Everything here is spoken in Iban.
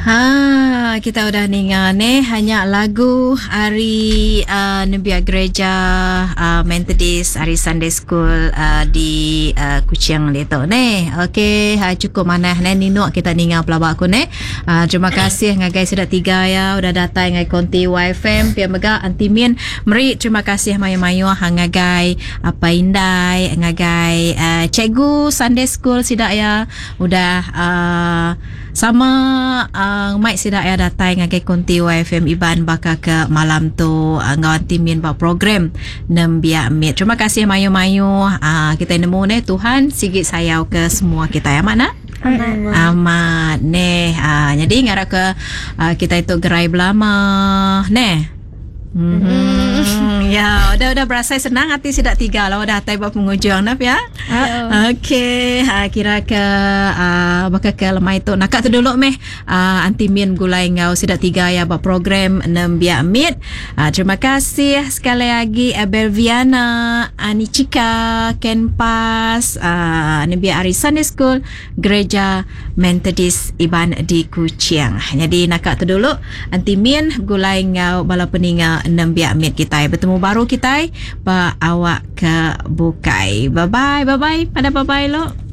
Ha kita udah ninga neh nya lagu ari uh, nembiak gereja uh, Methodist ari Sunday School uh, di uh, Kuching ditu neh. Okey ha, cukup manah neh ninuk kita ninga pelaba aku neh. Uh, terima kasih ngagai sida tiga ya udah datai ngagai konti YFM pia mega Aunty Min meri terima kasih mayuh-mayuh ngagai apai indai ngagai uh, cikgu Sunday School sida ya udah uh, Sama ngemai sida iya datai ngagai konti YFM Iban baka ke malam tu enggau Aunty Min ba program Nembiak Mit. Terima kasih mayuh-mayuh. Kitai nemu neh Tuhan sigi sayau ke semua kitai. Amat nak? Amat. Amat neh. Nyadi ngarap ke kitai tu gerai belama neh. Mm-hmm. Ya, udah udah berasai senang ati sida tiga lah udah atai ba pengujung nah pia. Okey, ha, kira ke uh, baka ke lemai tu naka tu dulu meh uh, Aunty Min gulai enggau sida tiga ya ba program Nembiak Mit. Uh, terima kasih sekali lagi Abel Viana, Anichika, Ken Pas, uh, Nembiak Hari Sunday School Gereja Methodist Iban di Kuching. Nyadi naka tu dulu enti min begulai enggau bala peninga nembiak mit kitai. Betemu baru kitai ba awak ke bukai. Bye bye bye bye pada bye bye lo.